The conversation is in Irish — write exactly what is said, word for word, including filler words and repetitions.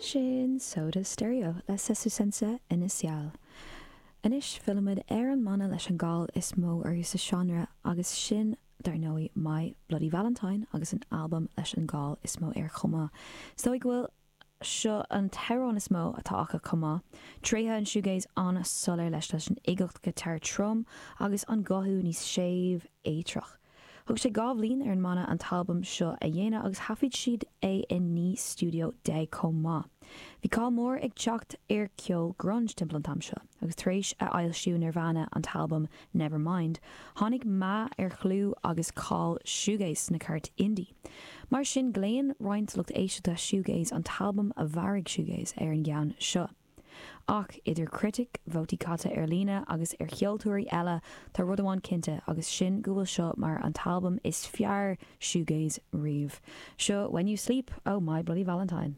Sin Soda Stereo le Sesu Senza Inicial. Anois fillimid ar an mbanna leis an gcáil is mó orthu sa seánra agus sin dar ndóigh My Bloody Valentine agus an albam leis an gcáil is mó air chomh maith. Is dóigh go bhfuil seo an t-amhrán is mó atá acu chomh maith. Tréithe an shoegaze an-soiléir leis leis an uigeacht guitar trom agus an guthú níos séimh éitreach. Thug sé dhá bhliain ar an mbanna an t-albam seo a dhéanamh agus thaifead siad é i naoi stiúideo déag chomh maith. Bhí cáil mór ag teacht ar ceol grunge timpeall an t-am seo, agus tar éis a fhoilsiú Nirvana an t-albam Nevermind, tháinig meath ar chlú agus cáil shoegaze sna cairt indie. Mar sin glaonn roinnt lucht éisteachta shoegaze an t-albam a mharaigh shoegaze ar an gceann seo. Ach idir chritic, vótaí caite ar líne agus ar cheoltóirí eile tá rud amháin cinnte agus sin go bhfuil seo mar an t-albam is fearr shoegaze riamh. Seo When You Sleep ó My Bloody Valentine.